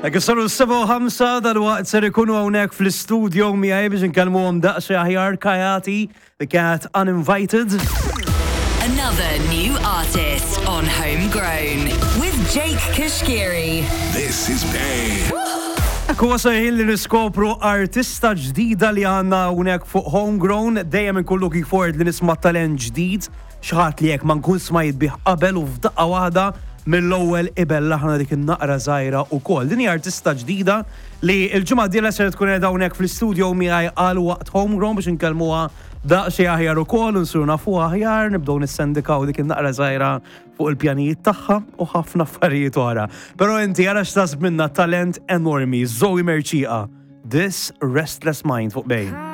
Hekk saru s-7:05, dal-waqt ser ikunu hawnhekk fl-istudio miegħi biex nkellmuhom daqsxejn aħjar, Kayati, The Cat Uninvited. Another new artist on Homegrown with Jake Cuschieri. This is Bay. Ekku wasal li niskopru artista ġdida li għandna hawnhekk fuq Homegrown, dejjem inkun looking forward li nisma' talent ġdid, xi ħadd li jekk ma nkun smajt bih qabel u f'daqqa waħda mill-ewwel ibellaħna dik in-naqra żgħira wkoll. Din hija artista ġdida li l-ġimgħa d-dieħla ser tkun qiegħda hawnhekk fl-istudio miegħi għal waqt Homegrown biex inkellmuha daqsxejn aħjar ukoll u nsiru nafuha aħjar, nibdew nissendikaw dik in-naqra żgħira fuq il-pjanijiet tagħha u ħafna affarijiet oħra. Però inti ara x'tasb minna talent enormi, Zoe Mercieca, This Restless Mind fuq Bay.